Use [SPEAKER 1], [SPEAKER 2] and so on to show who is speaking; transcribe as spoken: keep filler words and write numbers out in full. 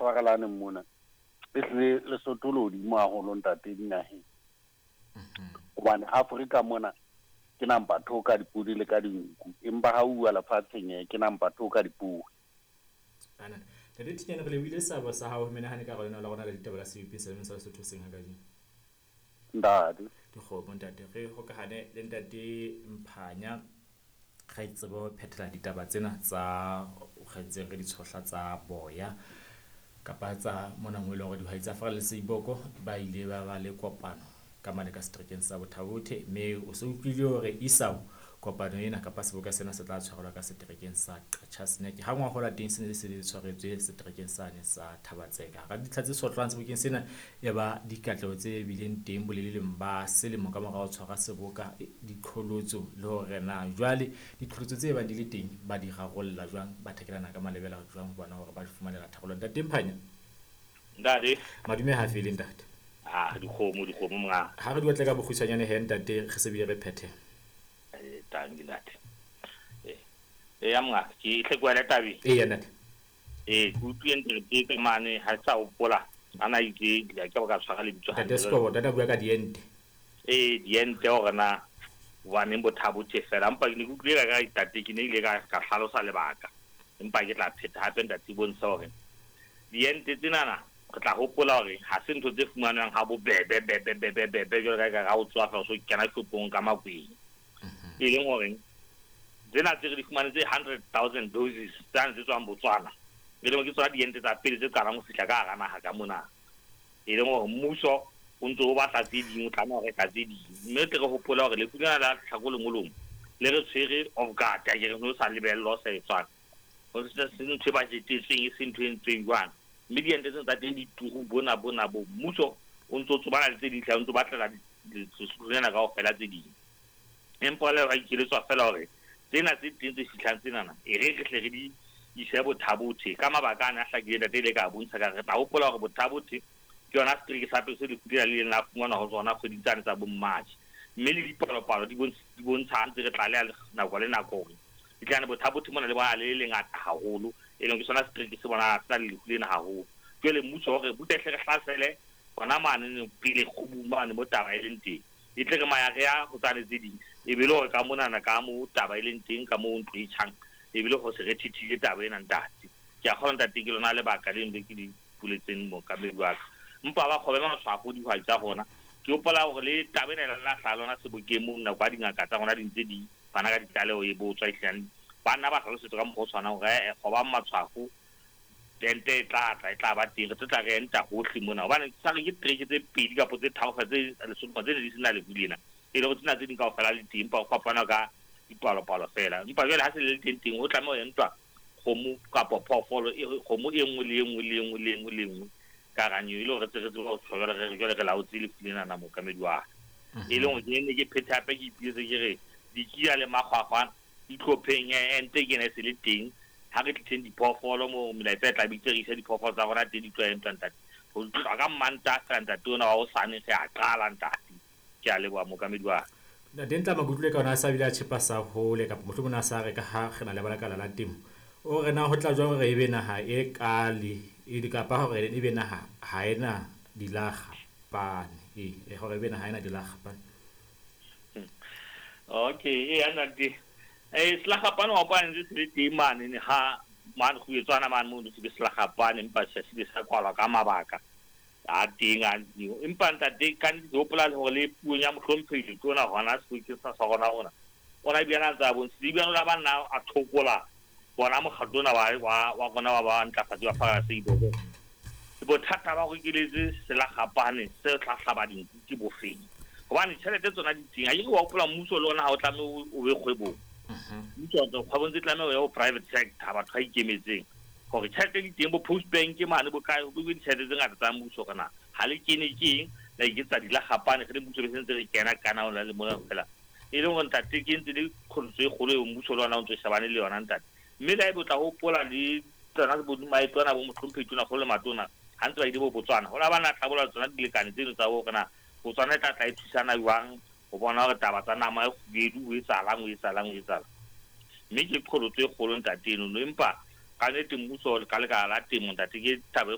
[SPEAKER 1] tshwarelaneng mona. Ehlile Lesotho le hodimo haholo ntate dinaheng. Hobane Afrika mona ke number two ka dipodi le ka dinku. Empa ha uwa lefatsheng ke number two ka dipodi.
[SPEAKER 2] Ana Ntate Thinyane, re lebohile seabo sa hao ho menahane ka lona la rona la ditaba la C B P selemeng sa Lesotho seng ha kajeno.
[SPEAKER 1] Ntate.
[SPEAKER 2] Dikgomo ntate, re hokahane le ntate Mphanya re tsebe ho phethela ditaba tsena tsa re ntseng re di tshohla tsa boya kapa tsa mona mo e leng hore dihwai tsa Fara le Seiboko ba ile ba ba le kopano ka mane ka seterekeng sa Botha-Bothe, mme o se utlwile hore isao kopano ena kapa seboka sena se tla tshwarelwa ka seterekeng sa Qacha's Nek ha ngwahola teng se ne se tshwaretswe seterekeng sane sa Thaba-Tseka. Hara dintlha tse sotlwang sebokeng sena e ba dikatleho tse bileng teng boleleleng ba selemo ka mora ho tshwara seboka, diqholotso le hore na jwale diqholotso tse bang di le teng ba di rarolla jwang, ba thekelana ka malebela jwang ho bona hore ba di fumanela tharollo. Ntate Mphanya.
[SPEAKER 3] Ntate.
[SPEAKER 2] Madume ha fele ntate.
[SPEAKER 3] Ah, dikgomo dikgomo monga.
[SPEAKER 2] Ha re di batle ka bokgutshwanyane he ntate, re se bile re phethe.
[SPEAKER 3] Eh, tanki ntate. Eh, eh ya monga, ke tle kwa le tabeng.
[SPEAKER 2] Eya ntate.
[SPEAKER 3] Eh, ke utlwile ntate ke mane ha sa hopola. Ana itse ke ke ka tshwara lebitso.
[SPEAKER 2] Ntate Sekobo, ntate bua ka diente.
[SPEAKER 3] Eh, diente hore na hobaneng Botha-Bothe fela. Empa ke ne ke utlwile ka ntate ke ne ile ka ka hlalosa lebaka. Empa ke tla pheta hape ntate bontsha hore diente tsenana re tla hopola hore ha se ntho tse fumanwang ha bobebe bebe bebe bebe jwalo ka ka ha o tswa fela so kena shopong ka makweng. E leng hore tsena tse re di fumane tse hundred thousand doses tsane tse tswang Botswana, e leng ke tsona diente tsa pele tse qalang ho fihla ka hara naha ka mona, e leng hore mmuso o ntso o batla tse ding, o tlameha ho reka tse ding. Mme tle re hopola hore lefu lena la tlhako lengolong le re tshwere off guard, a ke re no sa lebellwa, o sa etswang ho se ntho e bajetetsweng, e se ntho e entsweng jwang. Mme diente tsena tsa teng di turu bona bona bo mmuso o ntso tsobana le tse ding tla o ntso batlela lena kaofela tse ding, empa le ba ikeletswa fela hore tsena tse teng tse fihlang tsenana e re re hle re di ise Botha-Bothe ka mabaka ana a hlakileng. Ntate ile ka bontsha ka re tla hopola hore Botha-Bothe ke yona setereke sa pele se lefu lena le ileng la fumanwa ho tsona kgweding tsane tsa bo March, mme le dipalopalo di bontsha ha ntse re tlaleha nako le nako hore ditlane Botha-Bothe mona le bona le lengata haholo, e leng ke sona setereke se bona se na le lefu lena haholo. Jwale mmuso hore butle hle re hlasele hona mane pele kgubung mane mo taba e leng teng, e tle re maya re ya ho tsane tse ding, e be le hore ka monana ka mo taba e leng teng ka mo ntlo e tjhang, e be le ho se re thithile taba ena ntate. Ke a kgona ntate, ke lona lebaka le le ke di puletseng mookamedi wa ka. Empa ba kgobe matshwafo dihwai tsa rona, ke hopola hore le taba ena la hlaha lona sebokeng moo nako ya dingaka tsa rona di ntse di fana ka ditlaleho e botswa ehlileng ba nna ba hlalosetswa ka mokgwa o tshwanang hore eh kgobang matshwafo, ente e tla tla e tla ba teng, re tlo tla re enta hohle mona hobane sa re ke tereke tse pedi kapa tse tharo tse Lesotho tse ne di sena lefu lena, e le hore tsena tse ding kaofela le teng, empa ho fapana ka dipalopalo fela. Empa jwale ha se le teng teng ho tlameha ho entwa kgomo kapa phoofolo e kgomo e nngwe le e nngwe le e nngwe le e nngwe le e nngwe ka hara e le hore re tsebe ho tshwara re jwale re laotse lefu lena na mookamedi wa ka. E leng hore ke ne ke phethe hape ke ipiletse ke re dikia le makgwakgwa ditlhopheng ente ke ena e se le teng ha re tliseng diphoofolo mo melaetsa e tla bitse re ise diphoofolo tsa rona teng di tlo entwa ntate ho tloha ka Mantaha fela ntate ona wa hosane re a qala ntate. Ke a leboha mookamedi wa ka.
[SPEAKER 2] Ntate Ntlama, ke utlwile ka ona a sa bile a tjhepa sa hole kapa mohlomong a sa re ka ha re na le balakala la temo, o re na ho tla jwang hore ebe naha e kale e kapa hore ebe naha ha ena dilakgapane, e hore ebe naha ha ena dilakgapane?
[SPEAKER 3] Okay, e ntate eh selakgapane wa hopola ntse se le teng mane ne ha mane go etswana mane mo se be selakgapane, empa se se sa kwalwa ka mabaka a teng a empa ntate ka nnete ke hopola hore le puong ya mohlomphehi letona hona sebokeng sa sa rona rona ona ebile a ntse a bontshitse ebile o la ba nna a thokola bona mokgatlo ona wa wa wa rona wa ba ntlafatsi wa Fara Seiboko. Bothata ba go keletse selakgapane se tla hlaba dinku ke bofeng hobane tjhelete tsona di teng. A ke wa hopola mmuso le ona ha o tlameha o be kgwebong, mmuso kgwebong tse tlameha o ye ho private sector, batho ba ikemetseng hore tjhelete di teng bo Post Bank mane bo kae bo ditjhelete tse ngata tsa mmuso kana ha le kene ke eng la iketsa dilakgapane re le mmuso be sentse re kena kana ona le mona fela e leng hore ntate ke ntse le qholotso e kgolo eo mmuso le ona o ntso shebane le yona ntate. Mme le ha ebe o tla hopola le tsona bo maeto ana bo mohlomphehi tona kgolo le matona ha ntse ba ile bo Botswana ho la ba na hlabolla tsona dilekane tseno tsa hore na Botswana e tla tla e thusana jwang ho bona hore taba tsa nama e kgubedu ho etsahalang ho etsahalang ho etsahalang. Mme ke qholotso e kgolo ntate eno, empa ka nnete mmuso ka lekala la temo ntate ke taba e